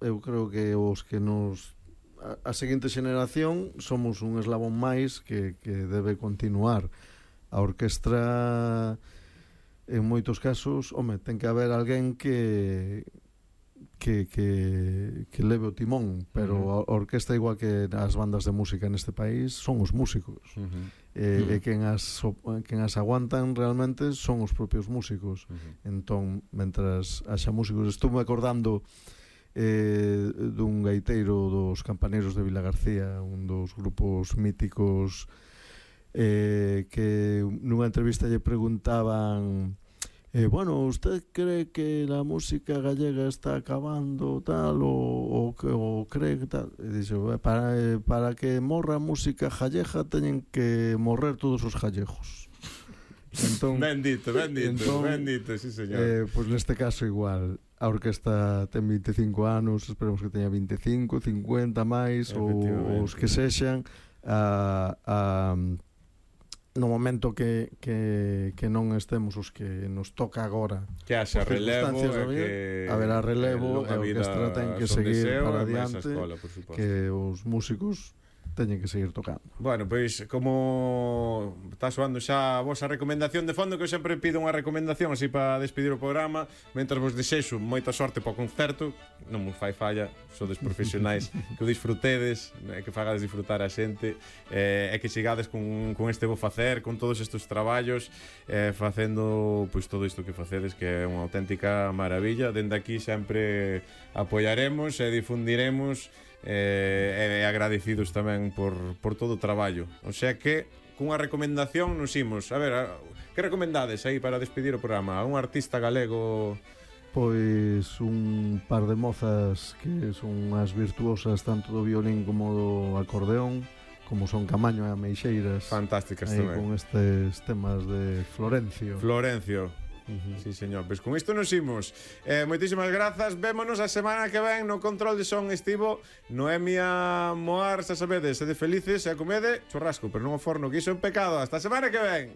eu creo que os que nos a seguinte xeneración somos un eslabón máis que debe continuar. A orquestra en moitos casos, ten que haber alguén que leve o timón, pero a orquestra, igual que as bandas de música neste país, son os músicos. E quen as aguantan realmente son os propios músicos. Entón, mentras haxa músicos, estou me acordando dun gaiteiro dos Campaneiros de Vilagarcía, un dos grupos míticos, que nunha entrevista lle preguntaban bueno, ¿usted cree que la música gallega está acabando tal o cree que tal? E dixe, para que morra a música gallega teñen que morrer todos os gallegos. Entón, bendito, sí señor. Pois neste caso igual, a orquesta ten 25 anos, esperemos que teña 25, 50 máis, ou os que sexan, no momento que non estemos os que nos toca agora, que haxa relevo, haberá relevo, e a orquestra ten que seguir para adiante, que os músicos teñen que seguir tocando. Bueno, pois, como está soando xa a vosa recomendación de fondo, que eu sempre pido unha recomendación así para despedir o programa, mentras vos desexo moita sorte para o concerto, non vos fai falla, sodes profesionais, que o disfrutedes, que fagades disfrutar a xente, e que chegades con este bo facer, con todos estes traballos, facendo pois todo isto que facedes, que é unha auténtica maravilla. Dende aquí sempre apoiaremos e difundiremos, e agradecidos tamén por todo o traballo. O sea que, cunha recomendación nos imos. A ver, que recomendades aí para despedir o programa? A un artista galego? Pois un par de mozas que son as virtuosas tanto do violín como do acordeón, como son Camaño e Ameixeiras. Fantásticas tamén. Con estes temas de Florencio. Sí, señor, pois con isto nos imos. Moitísimas grazas. Vémonos a semana que ven. No control de son estivo Noemia Moar, xa sabedes, sede felices e a comede churrasco, pero non o forno, que iso é un pecado. Hasta a semana que ven.